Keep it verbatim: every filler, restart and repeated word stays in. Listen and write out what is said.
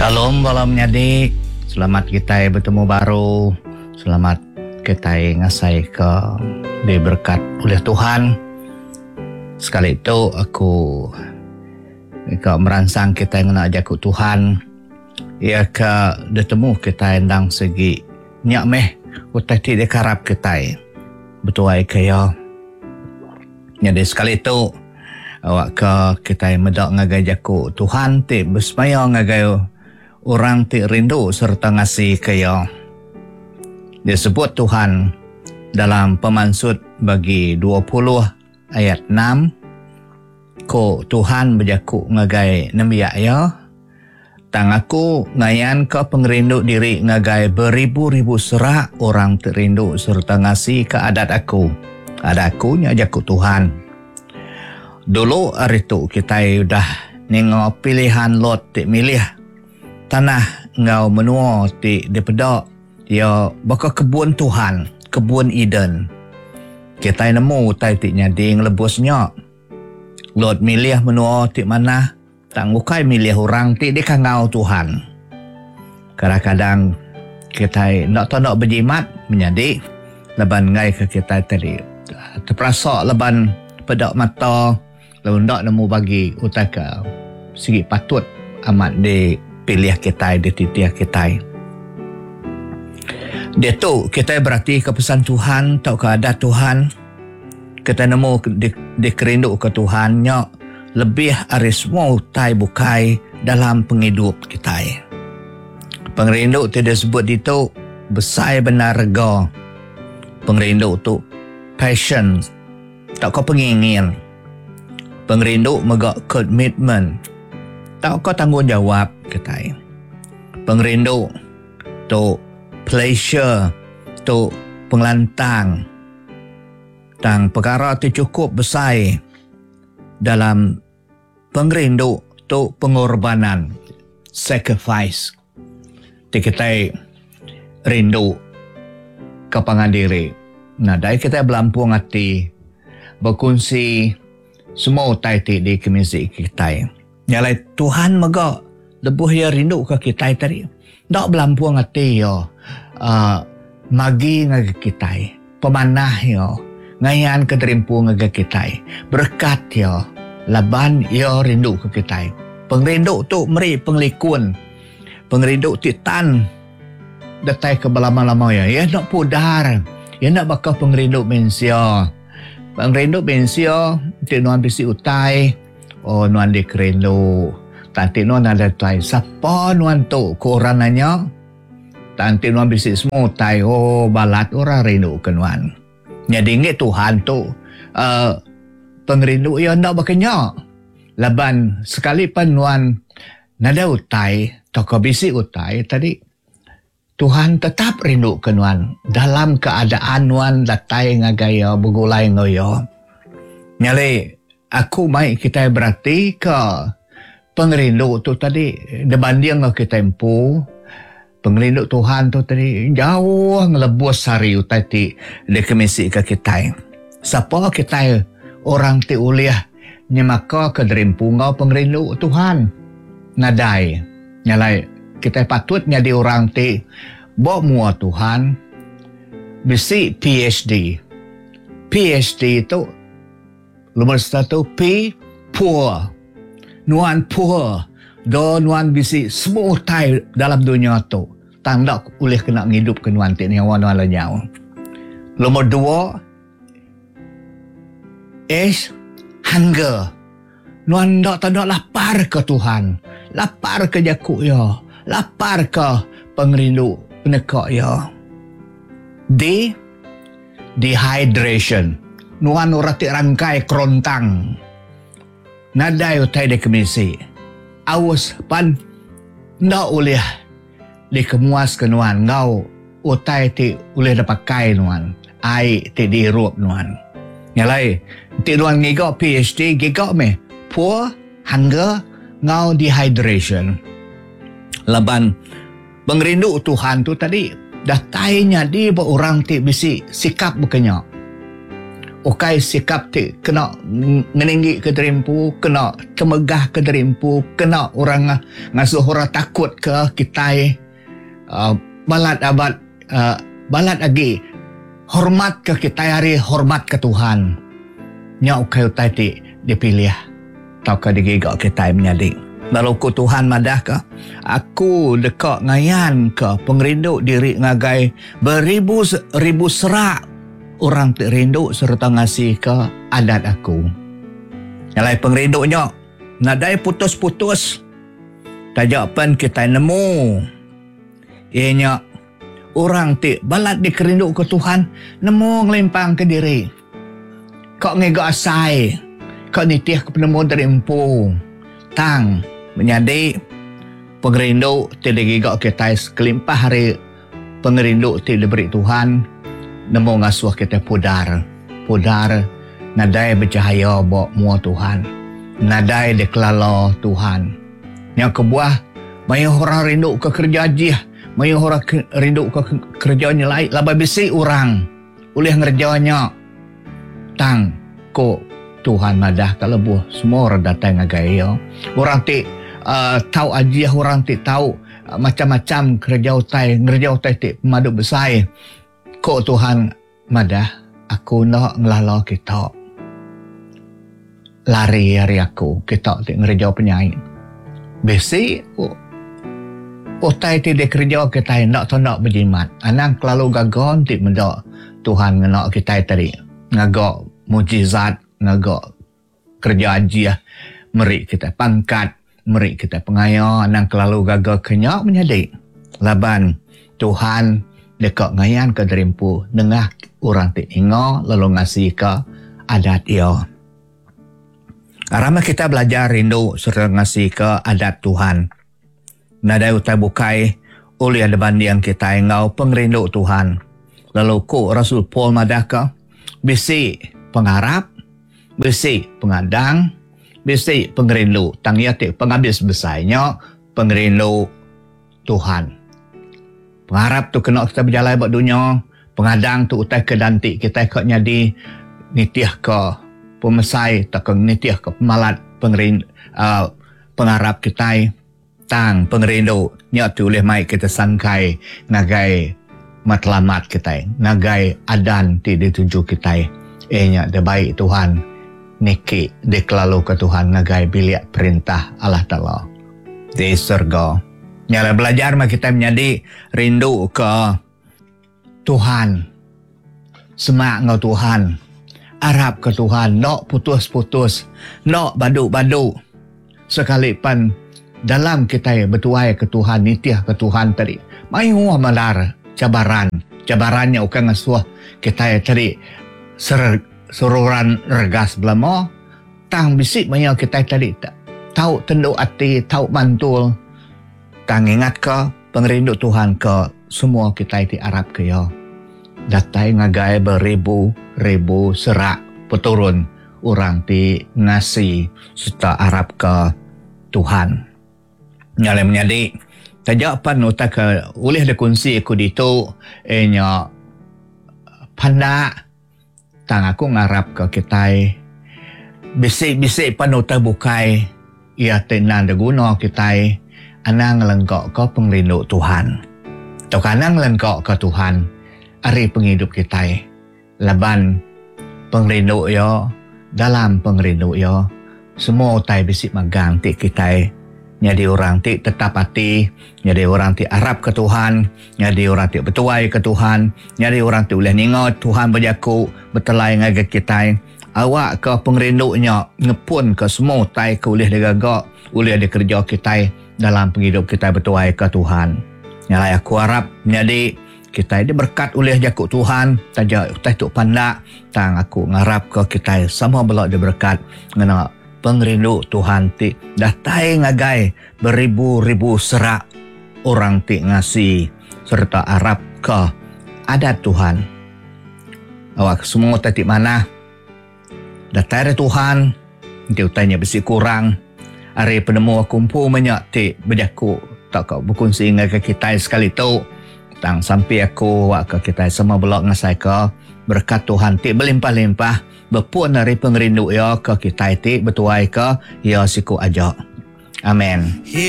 Shalom bala menyadi. Selamat kita betemu baru. Selamat kita ngasai ke diberkat oleh Tuhan. Sekali tu aku ke meransang kita ngena jaku Tuhan. Ia ke ditemu kita endang segi nyak meh utai ti dikarap kita. Betuai ke ya. Jadi sekali tu awak ke kita medak ngagai jaku Tuhan ti bersemaya ngagai orang ti rindu serta ngasih ke ya. Disebut Tuhan dalam pemansut bagi dua puluh ayat enam, ko Tuhan berjaku ngagai nembiak ya, tang aku ngayan ke pengerindu diri ngagai beribu-ribu serak orang ti rindu serta ngasih ke adat aku. Adat aku nya jaku Tuhan. Dulu hari tu kita udah nengok pilihan Lot ti milih tanah ngau menua ti dipedak ya baka kebun Tuhan, kebun Eden. Kita nemu utai ti nyadi ngelebusnya. Lot milih menua ti manah, tang bukai milih orang ti dikangau Tuhan. Kadang-kadang kita nak tak nak berjimat menjadi leban ngai ke kita tadi. Terperasa leban pedak mata lalu nak nemu bagi utai ke segi patut amat di pilih kita, di titiah kita. Dia tu kita berarti ke pesan Tuhan atau ke adat Tuhan. Kita nemu di, dikerindu ke Tuhan nya lebih ari semua utai bukai dalam penghidup kita. Pengerindu ti disebut itu besar benar rega. Pengerindu tu passion, tak kau pengingin. Pengerindu mega komitmen, tak kau tanggungjawab kita. Pengerindu tu pleasure, tu pengelantang. Tang perkara tu cukup besar dalam pengerindu tu pengorbanan, sacrifice. Ti kita rindu ke pangan diri. Nah, dai kita belampung hati berkongsi semua utai ti di kemisi kita. Nyalai Tuhan mega lebuh ia rindu ke kita tadi. Dak belampung hati yo. Uh, magi ngagai kita. Pemanah yo. Ngayan ke terimpu ngagai kita. Berkat yo. Laban yo rindu ke kita. Pengerindu tu meri pengelikun. Pengerindu ti tan datai ke berlama-lama ya. Ia nak pudar. Ia nak bakal pengerindu mensia. Pengerindu mensia ti nuan bisi utai. Oh nuan dikerindu. Tanti nuan ada utai. Siapa nuan tu? Ko orang nanya. Tanti nuan bisi semua utai. Oh balat orang rindu ke nuan. Jadi ingat Tuhan tu uh, pengerindu ia ndak berkenya. Laban sekali pan nuan nada utai atau kau bisi utai tadi, Tuhan tetap rindu ke nuan dalam keadaan nuan datai ngagai ya bergulai ngau ya. Nyale aku mai kita berarti ke pengerindu tu tadi dibanding ngau kita empu. Pengerindu Tuhan tu tadi jauh ngelebus hari utai ti dikemisi ke kita. Siapa kita orang ti uliah nyemaka ke derimpu ngau pengerindu Tuhan. Nadai. Nyalai kita patut jadi orang ti bawa mua Tuhan bisi P H D. P H D tu nomor satu P poor. Nuan poor. Do nuan bisi semua utai dalam dunia tu. Tanda boleh kena ngidup ke nuan ti nyawa nuan lenyau. Nomor dua H hunger. Nuan dak tanda lapar ke Tuhan. Lapar ke jakuk ya. Lapar ke pengerindu penekak ya. D dehydration. Nuan orang ti rangkai kerontang. Nadai utai de kemisi. Aus pan ndak boleh dikemuas ke nuan ngau utai ti boleh dipakai nuan. Ai ti dihirup nuan. Nyalai ti nuan ngiga P H D giga meh poor hunger ngau dehydration. Laban pengerindu Tuhan tu tadi datainya di ba orang ti bisi sikap bekenya. Ukai sikap ti kena ngeninggi ke derimpu, kena temegah ke derimpu, kena orang ngasuh orang takut ke kitai. Uh, balat abad uh, balat lagi hormat ke kitai hari hormat ke Tuhan. Nya ukai utai ti dipilih tauka digiga kitai menyadi. Lalu ku Tuhan madah ke aku deka ngayan ke pengerindu diri ngagai beribu ribu serak orang ti rindu serta ngasi ke adat aku. Nyalai pengerindunya nadai putus-putus. Tajak pen kita nemu ianya orang ti balat dikerindu ke Tuhan nemu ngelimpang ke diri. Kau ngiga asai, kau nitih ke penemu dari empu. Tang menyadi pengerindu ti digiga kita sekelimpah hari pengerindu ti diberi Tuhan nemu ngasuh kita pudar. Pudar nadai bercahaya ba mua Tuhan. Nadai dikelala Tuhan. Yang kebuah mayuh orang rindu ke kerja ajih, mayuh orang ke, rindu ke kerja nyelai labai bisi orang ulih ngerjanya. Tang ko Tuhan madah ka lebuh semua orang datang ngagai ia. Orang ti uh, tahu ajih, orang ti tahu uh, macam-macam kerja utai, ngerja utai ti pemadu besar. Ko Tuhan madah aku nak ngelala kita. Lari hari aku kita ti ngerja penyai. Besi utai ti dikerja kita nak tak nak berjimat. Anang kelalu gagal ti mendak Tuhan ngena kita tadi. Ngagak mujizat, ngagak kerja ajiah, meri kita pangkat, meri kita pengaya, anang kelalu gagal kenyak menjadi. Laban Tuhan dekat ngayan ke derimpu nengah orang ti inga lalu ngasi ke adat ia. Aram kita belajar rindu serta ngasi ke adat Tuhan. Nadai utai bukai oleh ada banding kita ngau pengerindu Tuhan. Lalu ku Rasul Paul madah ke bisi pengarap, bisi pengadang, bisi pengerindu. Tang ia ti penghabis besarnya pengerindu Tuhan. Pengarap tu kena kita berjalan buat dunia, pengadang tu utai ke dantik kita kak nyadi nitih ke pemesai atau ke nitih ke pemalat pengerindu, uh, pengarap kita. Tang pengerindu nya tu boleh mai kita sangkai ngagai matlamat kita, ngagai adan ti dituju kita. Eh nya de baik Tuhan niki dikelalu ke Tuhan ngagai bilik perintah Allah Taala di surga. Nyala belajar mah kita menjadi rindu ke Tuhan. Semak ngau Tuhan. Arab ke Tuhan. Nak putus-putus. Nak baduk-baduk. Sekali pan dalam kita bertuai ke Tuhan, nitih ke Tuhan tadi. Mayuh malar cabaran. Cabarannya bukan ngasuh kita tadi ser, seruran regas belama. Tang bisik maya kita tadi tak tahu tenduk hati, tahu mantul. Tang ingat ke pengerindu Tuhan ke semua kita ti Arab ke ya. Datai ngagai beribu-ribu serak peturun orang ti ngasi serta Arab ke Tuhan. Nyalai menyadi tajak pan utai ke ulih dikunsi aku ditu eh nya pandak tang aku ngarap ke kitai bisik-bisik pan utai bukai ia ti nan diguna kitai anang lenggok ke pengerindu Tuhan. Atau anang lenggok ke Tuhan ari penghidup kitai. Laban pengerindu ya dalam pengerindu ya semua utai bisik magang ti kitai jadi orang ti tetap hati, jadi orang ti arab ke Tuhan, jadi orang ti bertuai ke Tuhan, jadi orang ti boleh ningat Tuhan berjaku bertelai ngagai kitai. Awak ke pengerindunya ngepun ke semua utai ke boleh digagak, boleh dikerja kitai dalam penghidup kita bertuai ke Tuhan. Nyalai aku harap menjadi kita diberkat oleh jakuk Tuhan, taja utai tu pandak, tang aku ngarap ke kita sama belak diberkat ngena pengerindu Tuhan ti datai ngagai beribu-ribu serak orang ti ngasi serta arab ke adat Tuhan. Awak semua utai ti manah datai dari Tuhan, ti utainya bisi kurang ari penemu aku empu banyak ti berjaku tak kau berkongsi dengan kita sekali tu. Tang sampai aku wak ke kita semua belok ngasai ke berkat Tuhan ti berlimpah-limpah berpun dari pengerindu ya ke kita ti bertuai ke ya siku aja. Amin.